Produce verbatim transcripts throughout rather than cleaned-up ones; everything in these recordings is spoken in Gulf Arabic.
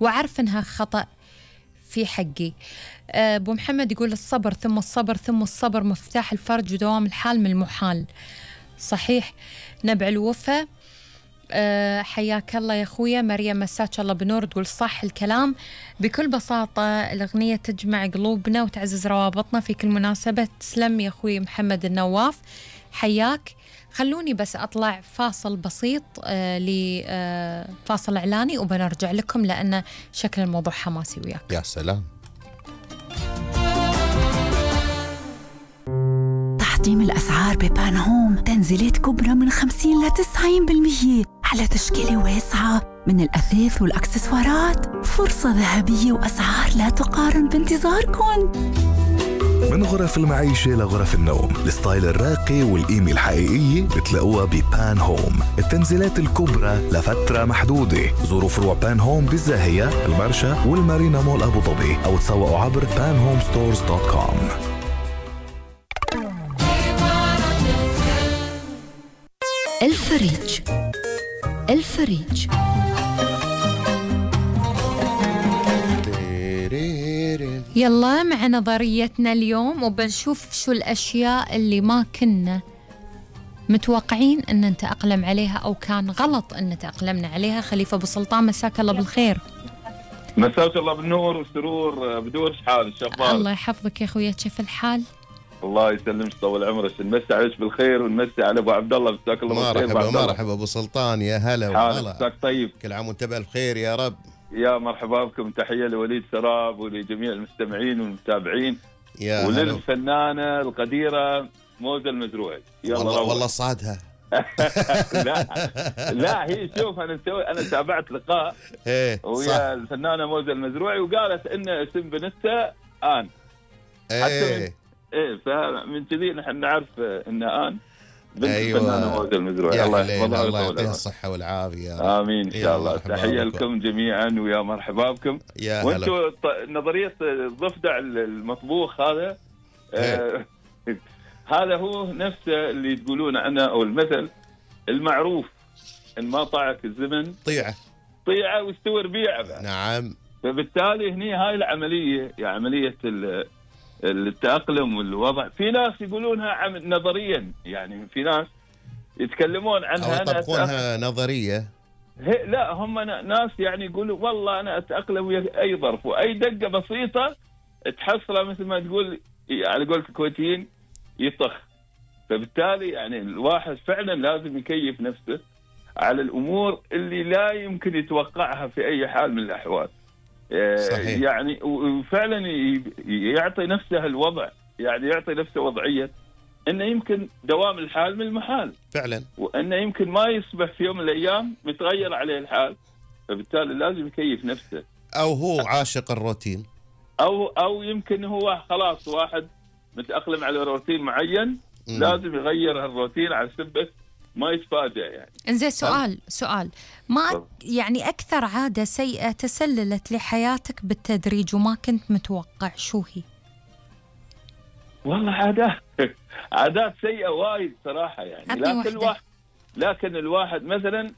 وعارف إنها خطأ في حقي. أبو محمد يقول الصبر ثم الصبر ثم الصبر مفتاح الفرج ودوام الحال من المحال. صحيح. نبع الوفا أه حياك الله يا أخويا. مريم مساك الله بنور تقول صح الكلام. بكل بساطة الأغنية تجمع قلوبنا وتعزز روابطنا في كل مناسبة. تسلم يا أخوي محمد النواف، حياك. خلوني بس أطلع فاصل بسيط آه لفاصل إعلاني وبنرجع لكم لأن شكل الموضوع حماسي وياك. يا سلام. تحطيم الأسعار ببان هوم، تنزيلات كبرى من خمسين لتسعين بالمية على تشكيلة واسعة من الأثاث والأكسسوارات. فرصة ذهبية وأسعار لا تقارن بانتظاركم. من غرف المعيشة لغرف النوم، الستايل الراقي والقيمة الحقيقية بتلاقوها ببان هوم. التنزيلات الكبرى لفترة محدودة. زوروا فروع بان هوم بالزاهية، المرشا والمارينا مول أبو ظبي أو تسوقوا عبر بان هوم ستورز دوت كوم. الفريج. الفريج يلا مع نظريتنا اليوم وبنشوف شو الأشياء اللي ما كنا متوقعين أن نتأقلم عليها أو كان غلط أن نتأقلمنا عليها. خليفة أبو سلطان مساك الله بالخير. مساك الله بالنور والسرور. بدور شحال الشباب؟ الله يحفظك يا أخويا، كيف الحال؟ الله يسلمك طول عمرك. نمسي عليك بالخير ونمسي على ابو عبد الله. مساك الله بالخير. مرحبا مرحبا ابو سلطان، يا هلا وغلا. مساك طيب، كل عام وانت بالخير يا رب. يا مرحبا بكم. تحيه لوليد سراب ولجميع المستمعين والمتابعين يا وللفنانه القديره موزة المزروعي. يلا والله, والله صعدها. لا لا هي شوف انا مسوي انا تابعت لقاء ايه ويا الفنانه موزة المزروعي وقالت ان اسم بنتها ان. ايه ايه فمن كذي نحن نعرف ان ان بنت أيوة. الفنانه موزة المزروعي. الله يحفظها الله يعطيها الصحه والعافيه. امين ان شاء الله. تحيه لكم جميعا ويا مرحبا بكم. وانتم نظريه الضفدع المطبوخ هذا آه هذا هو نفسه اللي تقولون عنه او المثل المعروف ان ما طاعك الزمن طيعه طيعه واستوى ربيعه. نعم. فبالتالي هني هاي العمليه يعني عمليه التأقلم والوضع. في ناس يقولونها نظريا، يعني في ناس يتكلمون عنها أو يطبقونها نظرية. لا هم ناس يعني يقولوا والله أنا أتأقلم ويا أي ظرف وأي دقة بسيطة تحصله مثل ما تقول على قولة الكويتيين يطخ. فبالتالي يعني الواحد فعلا لازم يكيف نفسه على الأمور اللي لا يمكن يتوقعها في أي حال من الأحوال. صحيح. يعني وفعلا يعطي نفسه الوضع، يعني يعطي نفسه وضعية انه يمكن دوام الحال من المحال فعلا، وانه يمكن ما يصبح في يوم من الايام متغير عليه الحال. فبالتالي لازم يكيف نفسه، او هو عاشق الروتين، او او يمكن هو خلاص واحد متأقلم على روتين معين م. لازم يغير هالروتين على سبب ما يتفاجأ. يعني انزين سؤال سؤال ما يعني أكثر عادة سيئة تسللت لحياتك بالتدريج وما كنت متوقع شو هي؟ والله عادات عادات سيئة وايد صراحة يعني. لكن الواحد لكن الواحد مثلا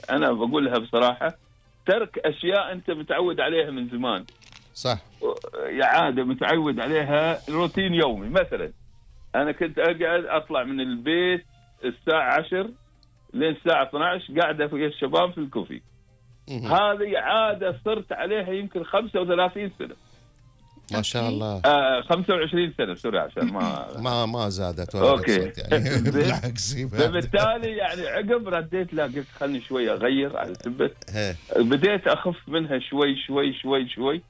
أنا بقولها بصراحة ترك أشياء أنت متعود عليها من زمان. صح. يا عادة متعود عليها روتين يومي. مثلا أنا كنت أقعد أطلع من البيت الساعة عشر لين الساعة اثني عشر قاعدة في الشباب في الكوفي. هذه عادة صرت عليها يمكن خمسة وثلاثين سنة. ما شاء الله. آه خمسة وعشرين سنة سوري عشان ما ما ما زادت ولا نقصت يعني بالعكس. فبالتالي يعني عقب رديت لا قلت خلني شوي أغير على سبة بديت أخف منها شوي شوي شوي شوي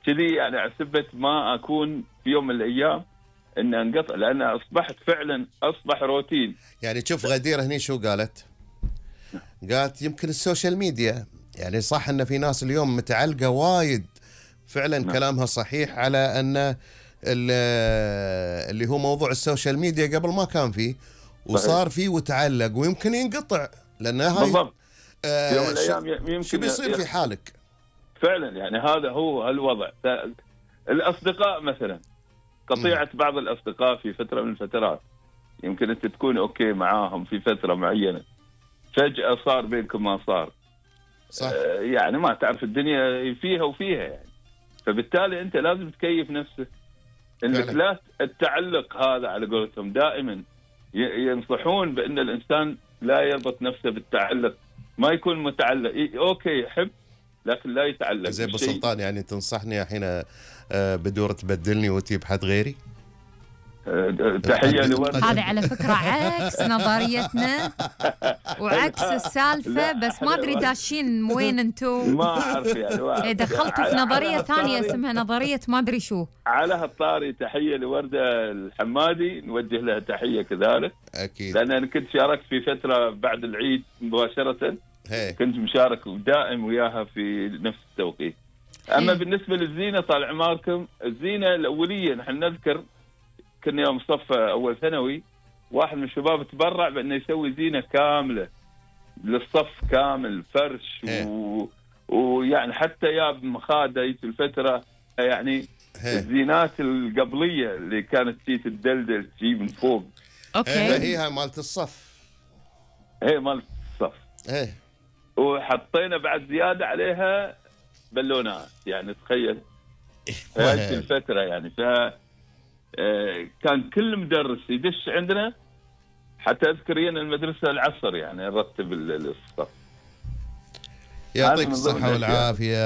كذي يعني على سبة ما أكون في يوم من الأيام إن انقطع، لأن أصبحت فعلا أصبح روتين. يعني شوف غدير هني شو قالت؟ قالت يمكن السوشيال ميديا، يعني صح إن في ناس اليوم متعلقة وايد فعلا. نعم. كلامها صحيح على أن اللي هو موضوع السوشيال ميديا قبل ما كان فيه وصار فيه وتعلق ويمكن ينقطع، لأن هاي بالضبط آه في يوم من الأيام يمكن شو بيصير في حالك فعلا. يعني هذا هو الوضع. الأصدقاء مثلا قطيعة م. بعض الأصدقاء في فترة من الفترات يمكن أنت تكون أوكي معاهم في فترة معينة، فجأة صار بينكم ما صار. صح. آه يعني ما تعرف الدنيا فيها وفيها يعني. فبالتالي انت لازم تكيف نفسك انك لا التعلق هذا على قولتهم. دائما ينصحون بان الانسان لا يربط نفسه بالتعلق، ما يكون متعلق. اوكي يحب لكن لا يتعلق. زي ابو سلطان يعني تنصحني الحين بدور تبدلني وتجيب حد غيري؟ تحية لورد. هذه على فكرة عكس نظريتنا وعكس السالفة، بس ما أدري داشين وين أنتم. ما أعرف يعني دخلتوا في نظرية ثانية اسمها نظرية ما أدري شو. على هالطاري تحية لوردة الحمادي، نوجه لها تحية كذلك أكيد، لأن أنا كنت شاركت في فترة بعد العيد مباشرة. هي. كنت مشارك ودائم وياها في نفس التوقيت. أما هي. بالنسبة للزينة طال عماركم، الزينة الأولية نحن نذكر كنا يوم صف أول ثانوي واحد من الشباب تبرع بأنه يسوي زينة كاملة للصف كامل، فرش و... ويعني حتى ياب مخادة في الفترة يعني هي. الزينات القبلية اللي كانت تجي تدلدل تجي من فوق. اوكي هي مالت الصف. هي مالت الصف. هي. وحطينا بعد زيادة عليها بالونات، يعني تخيل هذه الفترة يعني. ف كان كل مدرس يدش عندنا، حتى اذكر ان المدرسه العصر يعني نرتب الصف. يعطيك الصحه والعافيه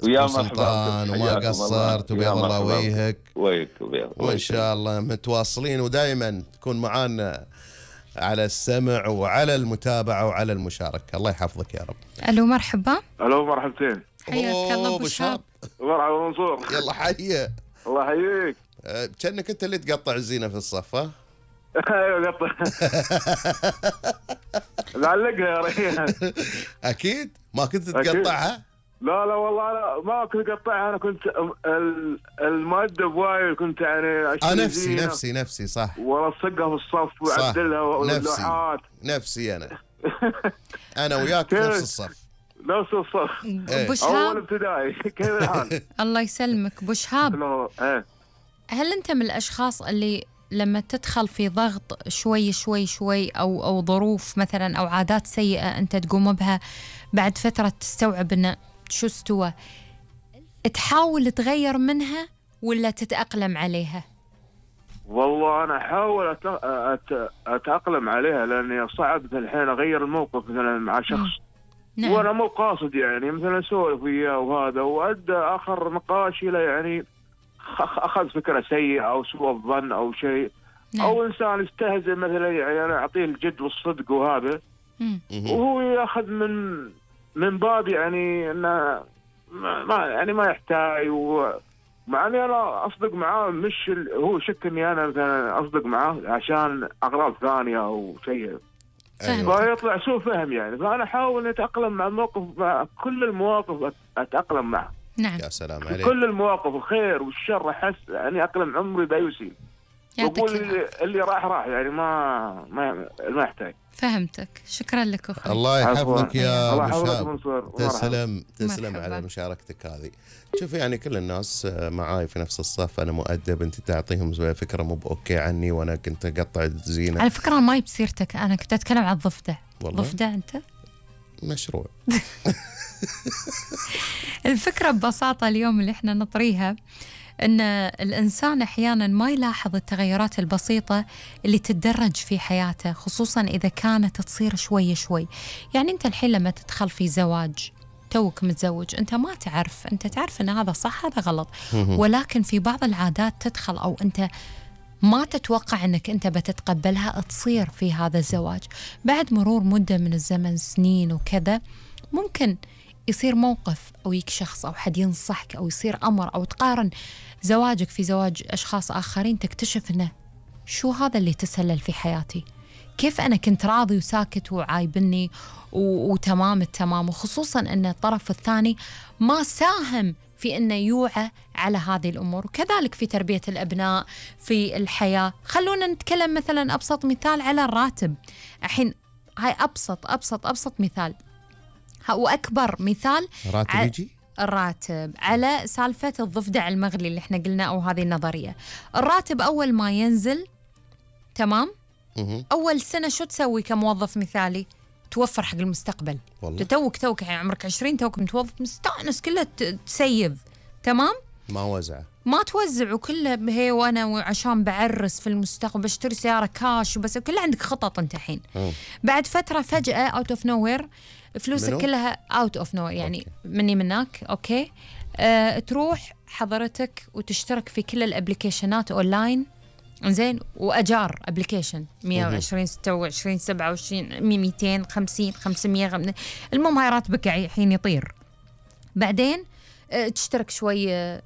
ويا سلطان، وما قصرت وبيض الله وجهك ويك وان شاء الله متواصلين، ودائما تكون معانا على السمع وعلى المتابعه وعلى المشاركه. الله يحفظك يا رب. الو مرحبا. الو مرحبتين. حياك الله ابو شاب. مرحبا منصور. يلا حيه. الله يحييك. أه كأنك انت اللي تقطع الزينه في الصف. ها ايوه قطع. نعلقها يا ريان. اكيد ما كنت تقطعها؟ لا لا والله أنا ما كنت اقطعها، انا كنت المؤدب وايد، كنت يعني اه نفسي نفسي نفسي صح، والصقها في الصف واعدلها واللوحات. نفسي انا انا وياك نفس الصف. نفس الصف. ابو شهاب اول ابتدائي. كيف الحال؟ الله يسلمك ابو شهاب. ايه هل انت من الاشخاص اللي لما تدخل في ضغط شوي شوي شوي او او ظروف مثلا او عادات سيئه انت تقوم بها، بعد فتره تستوعب انه شو استوى، تحاول تغير منها ولا تتاقلم عليها؟ والله انا احاول أت... أت... اتاقلم عليها، لاني صعب الحين اغير الموقف مثلا مع شخص. نعم. وانا مو قاصد يعني، مثلا اسولف وياه وهذا، وادى اخر نقاش الى يعني اخذ فكره سيئه او سوء الظن او شيء. نعم. او انسان يستهزئ مثلا، يعني انا اعطيه الجد والصدق وهذا، مم. وهو ياخذ من من باب يعني انه ما يعني ما يحتاج. ومع اني انا اصدق معاه، مش هو شك اني انا مثلا اصدق معاه عشان اغراض ثانيه او شيء، فيطلع سوء فهم يعني. فانا احاول اتاقلم مع الموقف، مع كل المواقف اتاقلم معه. نعم. يا سلام عليك. كل المواقف الخير والشر احس يعني اقلم عمري ذا يسيل. اقول اللي, اللي راح راح يعني ما ما ما يحتاج. فهمتك. شكرا لك اخوي. الله يحفظك يا ابو شاب. تسلم تسلم على مشاركتك هذه. شوف يعني كل الناس معاي في نفس الصف، انا مؤدب، انت تعطيهم فكره مو اوكي عني وانا كنت اقطع الزينه. على فكره ما بسيرتك، انا كنت اتكلم عن الضفدع. ضفدع انت؟ مشروع. الفكرة ببساطة اليوم اللي احنا نطريها ان الانسان احيانا ما يلاحظ التغيرات البسيطة اللي تتدرج في حياته، خصوصا اذا كانت تصير شوي شوي. يعني انت الحين لما تدخل في زواج، توك متزوج، انت ما تعرف، انت تعرف ان هذا صح هذا غلط، ولكن في بعض العادات تدخل او انت ما تتوقع أنك أنت بتتقبلها تصير في هذا الزواج. بعد مرور مدة من الزمن، سنين وكذا، ممكن يصير موقف أو يك شخص أو حد ينصحك أو يصير أمر أو تقارن زواجك في زواج أشخاص آخرين، تكتشف أنه شو هذا اللي تسلل في حياتي، كيف أنا كنت راضي وساكت وعايبني وتمام التمام، وخصوصا أن الطرف الثاني ما ساهم في أنه يوعى على هذه الأمور. وكذلك في تربية الأبناء في الحياة. خلونا نتكلم مثلا أبسط مثال على الراتب. الحين هاي أبسط أبسط أبسط مثال وأكبر مثال. راتب يجي؟ الراتب على سالفة الضفدع المغلي اللي احنا قلنا أو هذه النظرية. الراتب أول ما ينزل، تمام؟ أول سنة شو تسوي كموظف مثالي؟ توفر حق المستقبل. والله. توك توك يعني عمرك عشرين، توك متوظف مستانس كله تسيف، تمام؟ ما وزعه، ما توزع وكله هي وانا وعشان بعرس في المستقبل بشتري سياره كاش وبس، كله عندك خطط انت الحين. بعد فتره فجاه اوت اوف نو وير فلوسك كلها اوت اوف نو يعني أوكي. مني منك اوكي أه تروح حضرتك وتشترك في كل الابلكيشنات اونلاين، زين، واجار ابلكيشن مية وعشرين ستة وعشرين سبعة وعشرين مئتين وخمسين خمسمية، المهم هاي راتبك الحين يطير. بعدين أه تشترك شوي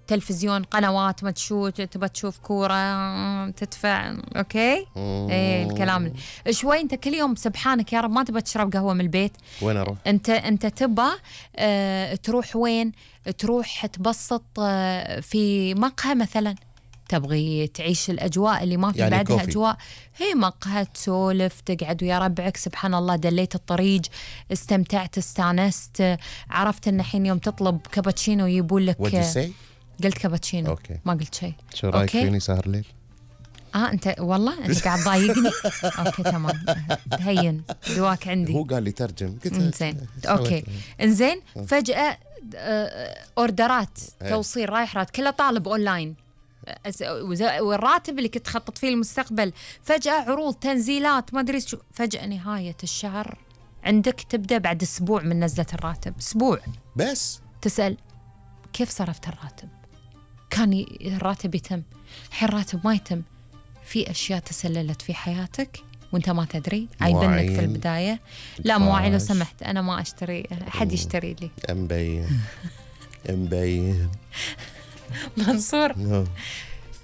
تلفزيون، قنوات ما تشوف، تبى تشوف كورة تدفع، اوكي؟ ايه الكلام شوي. انت كل يوم سبحانك يا رب ما تبى تشرب قهوة من البيت، وين اروح؟ انت انت تبى اه تروح وين؟ تروح تبسط اه في مقهى مثلا، تبغي تعيش الاجواء اللي ما في يعني بعدها كوفي. اجواء هي مقهى، تسولف، تقعد ويا ربعك، سبحان الله دليت الطريق، استمتعت، استانست، عرفت ان الحين يوم تطلب كابتشينو يجيبون لك. قلت كابتشينو أوكي. ما قلت شيء. شو رايك فيني سهر ليل؟ اه انت والله انت قاعد ضايقني. اوكي تمام، هين دواك عندي. هو قال لي ترجم، قلت انزين اوكي انزين. فجأة اوردرات توصيل رايح رات كله طالب اونلاين، والراتب اللي كنت تخطط فيه المستقبل فجأة عروض تنزيلات ما ادري شو. فجأة نهاية الشهر عندك تبدأ بعد اسبوع من نزلة الراتب، اسبوع بس تسأل كيف صرفت الراتب؟ كان الراتب يتم، الحين الراتب ما يتم. في أشياء تسللت في حياتك وانت ما تدري، عيبنك في البداية. لا مواعين لو سمحت، أنا ما أشتري، حد يشتري لي. مبين مبين منصور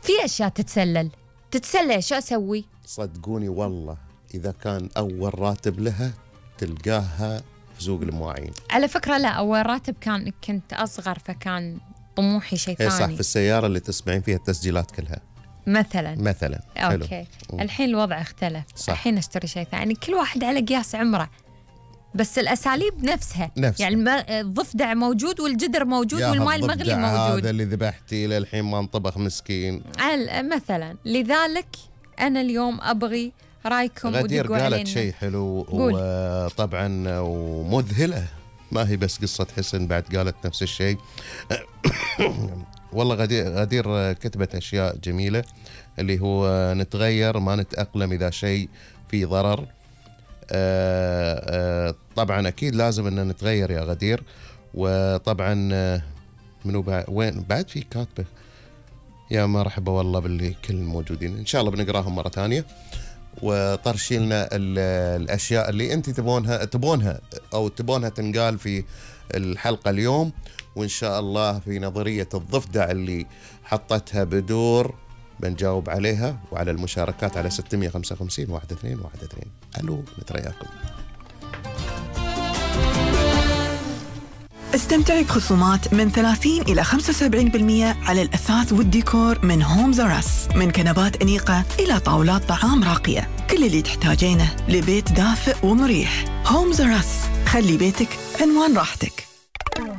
في أشياء تتسلل تتسلل شو أسوي؟ صدقوني والله إذا كان أول راتب لها تلقاها في سوق المواعين. على فكرة لا، أول راتب كان كنت أصغر فكان طموحي شيء ثاني. صح، في السيارة اللي تسمعين فيها التسجيلات كلها مثلا مثلا اوكي حلو. الحين الوضع اختلف صح. الحين اشتري شيء ثاني، كل واحد على قياس عمره، بس الاساليب نفسها, نفسها. يعني الضفدع موجود والجدر موجود والماء المغلي موجود. هذا اللي ذبحتي للحين ما انطبخ مسكين مثلا. لذلك انا اليوم ابغي رايكم. غدير قالت شيء حلو وطبعا ومذهله، ما هي بس قصة حسن، بعد قالت نفس الشيء. والله غدير, غدير كتبت أشياء جميلة، اللي هو نتغير ما نتأقلم إذا شيء فيه ضرر. آآ آآ طبعا أكيد لازم أن نتغير يا غدير. وطبعا منو بعد وين بعد في كاتبة يا مرحبا والله باللي كل الموجودين، إن شاء الله بنقراهم مرة ثانية وطرشي لنا الأشياء اللي أنت تبونها تبونها أو تبونها تنقال في الحلقة اليوم، وإن شاء الله في نظرية الضفدع اللي حطتها بدور بنجاوب عليها، وعلى المشاركات على ستمية وخمسة وخمسين واحد اثنين واحد اثنين. ألو نترياكم. استمتعي بخصومات من ثلاثين إلى خمسة وسبعين بالمئة على الأثاث والديكور من هومز أور أس، من كنبات أنيقة إلى طاولات طعام راقية، كل اللي تحتاجينه لبيت دافئ ومريح. هومز أور أس، خلي بيتك عنوان راحتك.